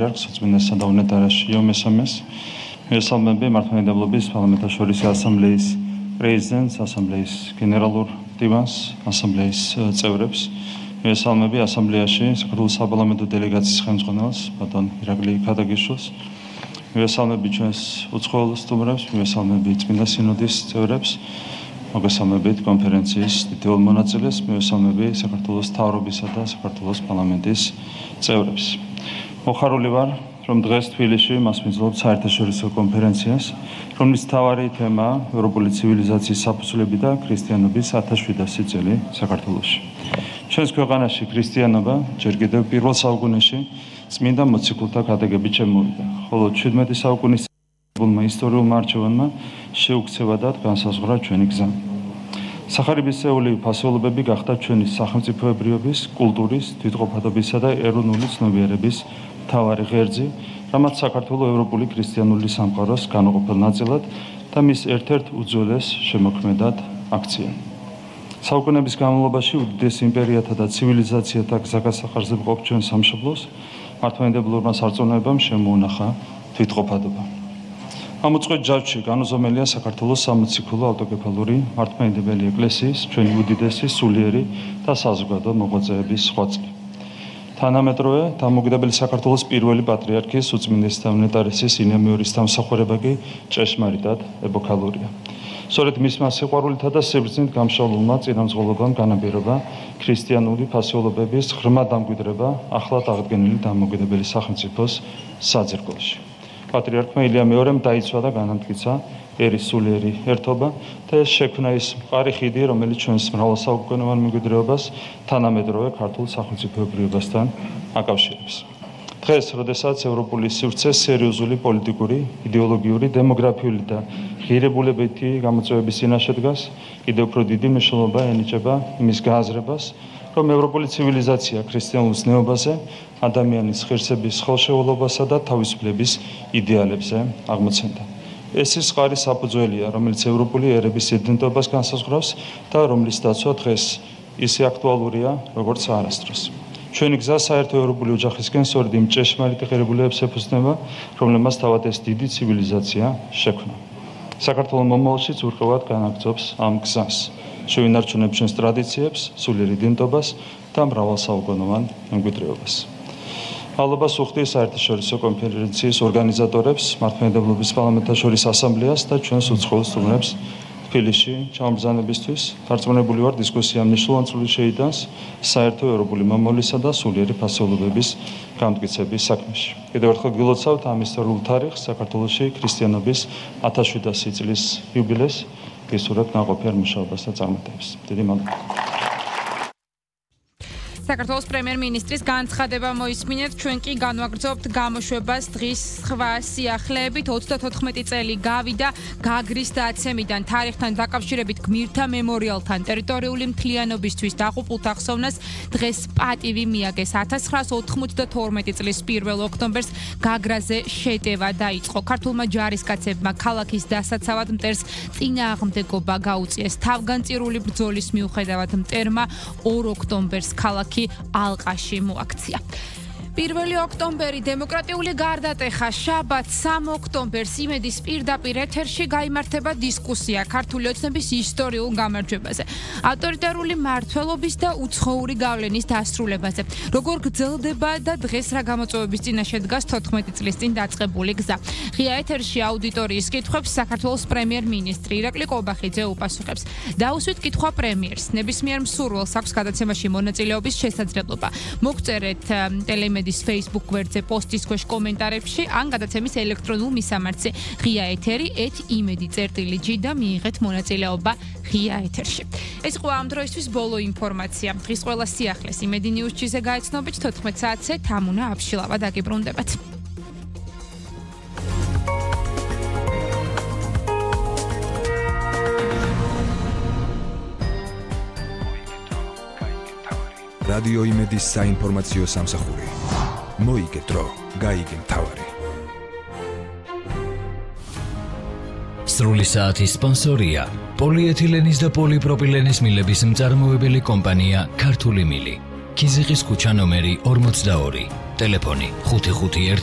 სოციალისტთა და უნეტარაშიო მესამეს მესამები მართლმადიდებლობის პარლამენტაშორისი ასამბლეის პრეზიდენტს, ასამბლეის გენერალურ დივანს, ასამბლეის წევრებს, მესამები ასამბლეაში საქართველოს საპარლამენტო დელეგაციის ხელმძღვანელს, ბატონ ირაკლი ქადაგიშვილს, მესამები ჩვენს უცხოელ სტუმრებს, მესამები წმინდა სინოდის წევრებს, მოგესალმებით კონფერენციის დიდებულ მონაწილეს, მესამები საქართველოს მთავრობისა და საქართველოს პარლამენტის წევრებს. მოხარული ვარ, რომ დღეს თბილისში მას მიძლობთ საერთაშორისო კონფერენციას, რომლის მთავარი თემაა ევროპული ცივილიზაციის საფუძვლები და ქრისტიანობის 1700 წელი საქართველოში. ჩვენს ქვეყანაში ქრისტიანობა ჯერ კიდევ პირველ საუკუნეში წმინდა მოციქულთა ქადაგებით შემოვიდა, ხოლო 17 საუკუნის ისტორიულმა არჩევანმა შეუქცევადად განსაზღვრა ჩვენი გზა. სახარებისეული ფასეულობები გახდა ჩვენი სახელმწიფოებრიობის, კულტურის, თვითყოფადობისა და ეროვნული ცნობიერების მთავარი ღერძი, რამაც საქართველოს ევროპული ქრისტიანული სამყაროს განუყოფელ ნაწილად და მის ერთ-ერთ უძველეს შემოქმედად აქცია. საუკუნეების განმავლობაში უდიდეს იმპერიათა და ცივილიზაციათა გზაგასახარზე მყოფ ჩვენ სამშობლოს მართლმადიდებლურმა სარწმუნოებამ შემოუნახა თვითყოფადობა. ამ უწყვეტ ჯაჭვში განუზომელია საქართველოს სამოციქულო ავტოკეფალური მართლმადიდებელი ეკლესიის, ჩვენი უდიდესი სულიერი და საზოგადო მოღვაწეების ხვაწლი. თანამედროვე დამოუკიდებელი საქართველოს პირველი პატრიარქის უწმინდესთა უნეტარესის ინემეორის დამსახურება კი ჭეშმარიტად ეპოქალურია. სწორედ მისმა სიყვარულითა და სიბრძნით გამშვალულმა წინამძღოლობამ განაპირობა ქრისტიანული ფასეულობების ღრმა დამკვიდრება ახლად აღდგენილი დამოუკიდებელი სახელმწიფოს საძირკველში. პატრიარქმა ილია მეორემ დაიცვა და განამტკიცა ერის სულიერი ერთობა და ეს შექმნა ის მყარი ხიდი, რომელიც ჩვენს მრავალსაუკუნოვან მემკვიდრეობას თანამედროვე ქართულ სახელმწიფოებრიობასთან აკავშირებს. დღეს, როდესაც ევროპული სივრცე სერიოზული პოლიტიკური, იდეოლოგიური, დემოგრაფიული და ღირებულებითი გამოწვევების წინაშე დგას, კიდევ უფრო დიდი მნიშვნელობა ენიჭება იმის გააზრებას, რომ ევროპული ცივილიზაცია ქრისტიანულ ზნეობაზე, ადამიანის ღირსების ხელშეულობასა და თავისუფლების იდეალებზე აღმოცენდა. ეს ის მყარი საფუძველია, რომელიც ევროპული ერების იდენტობას განსაზღვრავს და რომლის დაცვა დღეს ისე აქტუალურია, როგორც არასდროს. ჩვენი გზა საერთო ევროპული ოჯახისკენ სწორედ იმ ჭეშმარიტ ღირებულებებს ეფუძნება, რომლებმაც თავად ეს დიდი ცივილიზაცია შექმნა. საქართველოს მომავალშიც ურყევად განაგრძობს ამ გზას. შევინარჩუნებ ჩვენს ტრადიციებს, სულიერ იდენტობას და მრავალსაუკუნოვან მემკვიდრეობას. მადლობას ვუხდი საერთაშორისო კონფერენციის ორგანიზატორებს, მართლმადიდებლობის პარლამენტაშორისო ასამბლეას და ჩვენს უცხოელ სტუმრებს თბილისში ჩამბრძანებისთვის. დარწმუნებული ვარ, დისკუსია მნიშვნელოვან წვლილს შეიტანს საერთო ევროპული მომავლისა და სულიერი ფასეულობების გამტკიცების საქმეში. კიდევ ერთხელ გილოცავთ ამ ისტორიულ თარიღს, საქართველოში ქრისტიანობის 1700 წლის იუბილეს. გესურვებთ ნაყოფიერ მუშაობას და წარმატებას. დიდი მადლობა. საქართველოს პრემიერ-მინისტრის განცხადება მოისმინეთ, ჩვენ კი განვაგრძობთ გამოშვებას დღის სხვა სიახლეებით. 34 წელი გავიდა გაგრის დაცემიდან თარიღთან დაკავშირებით გმირთა მემორიალთან ტერიტორიული მთლიანობისთვის დაღუპულთა ხსოვნას დღეს პატივი მიაგეს. 1992 წლის 1 ოქტომბერს გაგრაზე შეტევა დაიწყო. ქართულმა ჯარისკაცებმა ქალაქის დასაცავად მტერს წინააღმდეგობა გაუწიეს. თავგანწირული ბრძოლის მიუხედავად მტერმა 2 ოქტომბერს ქალაქი ალყაში მოაქცია. 1 ოქტომბერი დემოკრატიული გარდატეხა, შაბათს 3 ოქტომბერს იმედის პირდაპირ ეთერში გაიმართება დისკუსია ქართული ოცნების ისტორიულ გამარჯვებაზე, ავტორიტარული მმართველობის და უცხოური გავლენის დასრულებაზე. როგორ გრძელდება და დღეს რა გამოწვევების წინაშე დგას 14 წლის წინ დაწყებული გზა. ღია ეთერში აუდიტორიის კითხვებს საქართველოს პრემიერ-მინისტრი ირაკლი ყობახიძე უპასუხებს. დაუსვით კითხვა პრემიერს, ნებისმიერ მსურველს აქვს გადაცემაში მონაწილეობის შესაძლებლობა. მოგწერეთ ტელემედის Facebook გვერდზე პოსტის ქვეშ კომენტარებში ან გადაცემის ელექტრონულ მისამართზე ღია ეთერი@imedi.gr და მიიღეთ მონაწილეობა ღია ეთერში. ეს იყო ამ დროისთვის ბოლო ინფორმაცია. დღის ყველა სიახლეს იმედი ნიუზ-ზე გაეცნობით 14 საათზე თამუნა აბშილავა დაგიბრუნდებათ. რადიო იმედის საინფორმაციო სამსახური. მოიგე დრო, გაიგე მთავარი. სრული საათის სპონსორია პოლიეთილენის და პოლიპროპილენის მილების მწარმოებელი კომპანია ქართული მილი. ქიზიყის ქუჩა ნომერი 42. ტელეფონი 551